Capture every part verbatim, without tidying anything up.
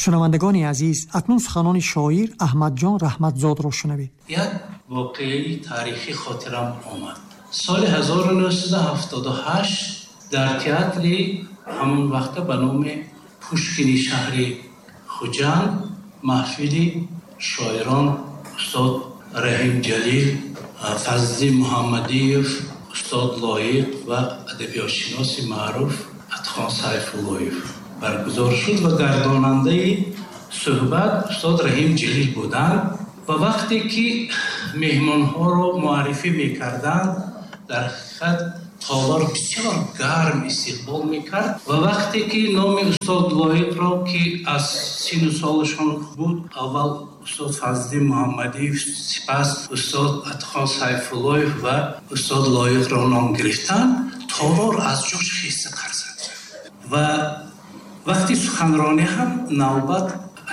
Шунавандагони азиз, акнун суханони шоир Аҳмадҷон Раҳматзодро шунавед. Як воқеаи таърихӣ хотирам омад. Соли ҳазору нӯҳсаду ҳафтоду ҳашт дар театри ҳамон вақта ба номи Пушкини шаҳри Хуҷанд маҳфили шоирон устод Раҳим Ҷалил, Фазли Муҳаммадиев, устод Лоиқ ва адабиётшиноси маъруф Атхон Сайфуллоев баргузор шуд ва гардонандаи суҳбат устод Раҳим Ҷалил буданд. Ва вақте ки меҳмонҳоро муаррифӣ мекарданд, дар ҳақиқат толор бисёр гарм истиқбол мекард. Ва вақте ки номи устод Лоиқро, ки аз сину солашон буд, аввал устод Фазли Муҳаммадиев, сипас устод Атхон Сайфуллоев ва устод Лоиқро ном гирифтанд, толор аз ҷош хеста қарзад. Ва вақти суханронӣ ҳам навбат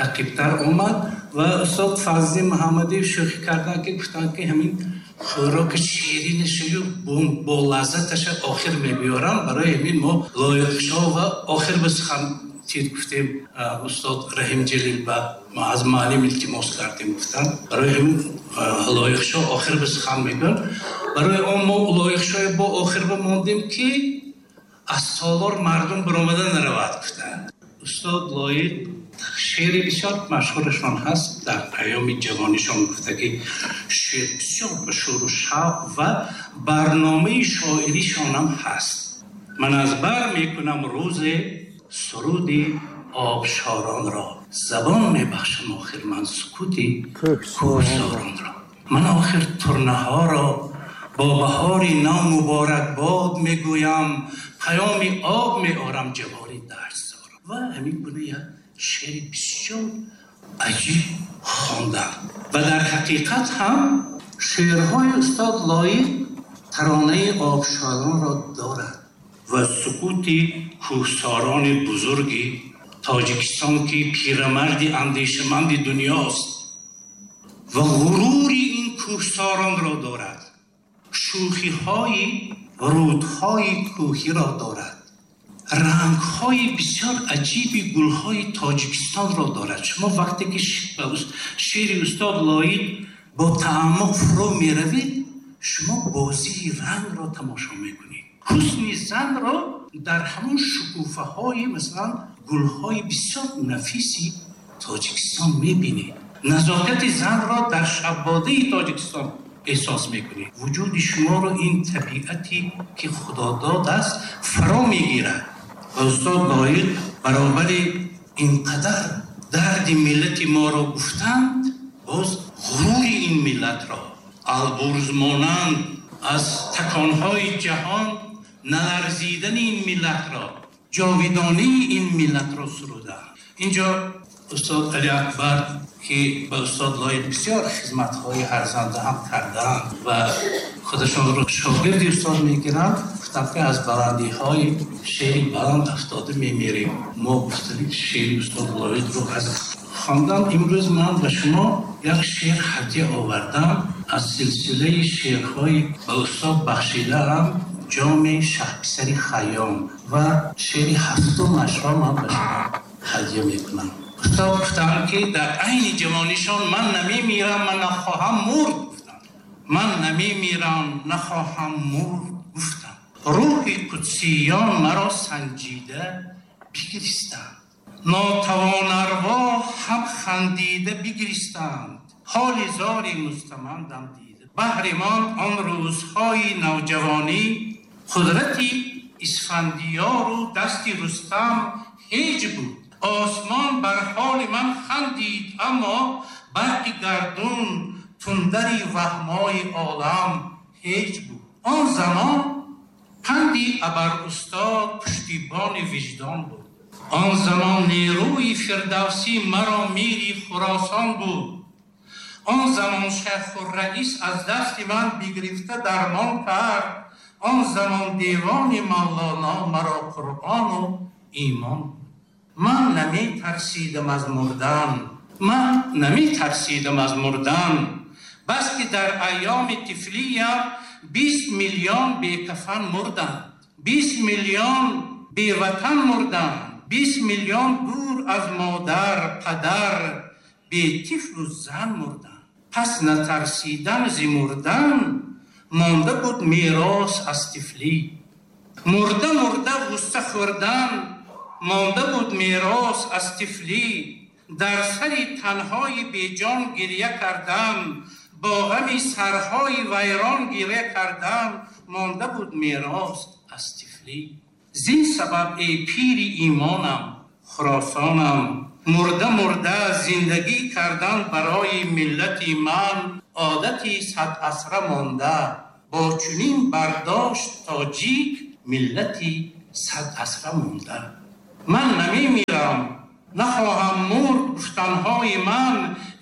ақибтар омад ва устод Фазли Муҳаммадиев шӯхӣ карданд, ки гуфтанд, ки ҳамин хӯроки ширинашаю бо лаззаташа охир мебиёрам, барои ҳамин мо Лоиқшо ва охир ба сухан тир гуфтем. Устод Раҳим Ҷалил ба аз муаллим илтимос кардем, гуфтанд, барои ҳамин Лоиқшо охир ба сухан мегӯянд. Барои он мо Лоиқшои бо охир ба мондем, ки аз толор мардум баромада наравад, гуфтанд. Устод Лоиқ шеъри бисёр машҳурашон ҳаст, дар паёми ҷавонишон гуфта, ки шеър бисёр ба шӯру шавқ ва барномаи шоиришонам ҳаст. Ман аз бар мекунам рӯзе суруди обшоронро, забон мебахшам охир ман сукути кӯҳсоронро. Ман охир турнаҳоро бо баҳори нав муборакбод мегӯям, паёми об меорам ҷавори дарсдорам. Ва ҳамин гуна як шеъри бисёр аҷиб хондам. Ва дар ҳақиқат ҳам шеърҳои устод Лоиқ таронаи обшоронро дорад ва сукути кӯҳсорони бузурги Тоҷикистон, ки пирамарди андешаманди дунёст ва ғурури ин кӯҳсоронро дорад, шӯхиҳои рӯдҳои кӯҳиро дорад, рангҳои бисёр аҷиби гулҳои Тоҷикистонро дорад. Шумо вақте ки шеъри устод Лоиқ бо таъаммуқ фурӯ меравед, шумо бозии рангро тамошо мекунед. Ҳусни занро дар ҳамон шукуфаҳои масалан гулҳои бисёр нафиси Тоҷикистон мебинед. Назокати занро дар шаббодаи Тоҷикистон эҳсос мекунед. Вуҷуди шуморо ин табиате ки Худо додааст фаро мегирад. Ва устод Лоиқ баробари инқадар дарди миллати моро гуфтанд, боз ғурури ин миллатро албурз монанд аз таконҳои ҷаҳон наларзидани ин миллатро, ҷовидонии ин миллатро суруданд. Инҷо устод Али Акбар, ки ба устод Лоиқ бисёр хизматҳои арзанда ҳам карданд ва худашонро шогирди устод мегиранд, гуфтанд, ки аз баландиҳои шеъри баланд афтода мемирем. Мо гуфтем шеъри устод Лоиқро аз хондан. Имрӯз ман ба шумо як шеър ҳадя овардам аз силсилаи шеърҳои ба устод бахшидаам, ҷоми шаҳписари Хайём, ва шеъри ҳафтумашро ман ба шумо ҳадя мекунам. Устод гуфтанд, ки дар айни ҷавонишон ман намемирам, ман нахоҳам мурд. Гуфтанд, ман намемирам, нахоҳам мурд. Гуфтам, рӯҳи қудсиён маро санҷида бигиристанд, нотавонарво ҳам хандида бигиристанд, ҳоли зори мустамандам дида. Баҳри ман он рӯзҳои навҷавонӣ, қудрати Исфандиёру дасти Рустам ҳеҷ буд. Осмон бар ҳоли ман хандид, аммо барқи гардун тундари ваҳмои олам ҳеҷ буд. Он замон панди абарустод пуштибони виҷдон буд. Он замон нерӯи Фирдавсӣ маро мири Хуросон буд. Он замон шайхурраис аз дасти ман бигирифта дармон кард. Он замон девони Мавлоно маро Қуръону имон. Ман намитарсидам аз мурдан, ман намитарсидам аз мурдан, бас ки дар айёми тифлиям бист миллион бекафан мурданд, бист миллион беватан мурданд, Бист миллион дур аз модар, падар, бе тифлу зан мурданд. Пас натарсидан зи мурдан, монда буд мерос аз тифлӣ. Мурда мурда ғусса хӯрдан, монда буд мерос аз тифлӣ. Дар сари танҳои беҷон гиря кардан, бо ғами сарҳои вайрон гиря кардан, монда буд мерос аз тифлӣ. Зин сабаб эй пири имонам, Хуросонам, мурда мурда зиндагӣ кардан барои миллати ман одати сад асра монда. Бо чунин бардошт тоҷик миллати сад асра монда. Ман намемирам, нахоҳам мурд, гуфтанҳои ман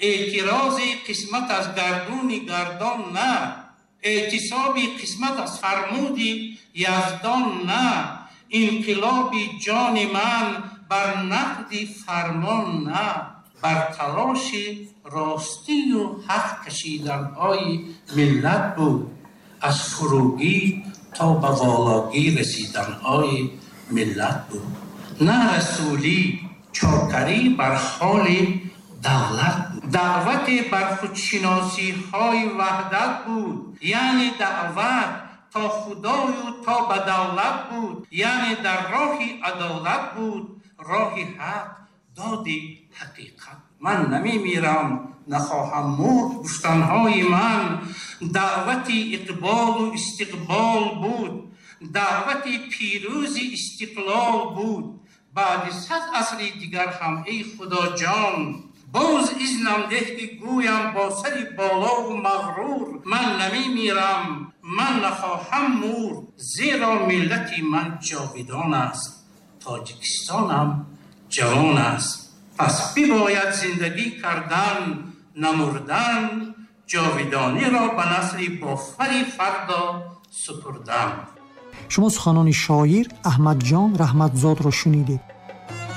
эътирози қисмат аз гардуни гардон на, эътисоби қисмат аз фармуди яздон на, инқилоби ҷони ман бар нақди фармон на, бар талоши ростию ҳақ кашиданҳои миллат буд, аз фуругӣ то ба вологӣ расиданҳои миллат буд. На расулӣ чокарӣ бар ҳоли давлат буд, даъвате бар худшиносиҳои ваҳдат буд, яъне даъват то худою то ба давлат буд, яъне дар роҳи адолат буд, роҳи ҳақ, доди ҳақиқат. Ман намемирам, нахоҳам мурд, гуфтанҳои ман даъвати иқболу истиқбол буд, даъвати пирӯзи истиқлол буд. Баъди сад асри дигар ҳам эй худоҷон, боз изнам деҳ ки гӯям бо сари болову мағрур, ман намемирам, ман нахоҳам мурд, зеро миллати ман ҷовидон аст, Тоҷикистонам ҷавон аст. Пас бибояд зиндагӣ кардан, намурдан, ҷовидониро ба насли бофари фардо супурдан. Шумо суханони шоир Аҳмадҷон Раҳматзодро шунидед.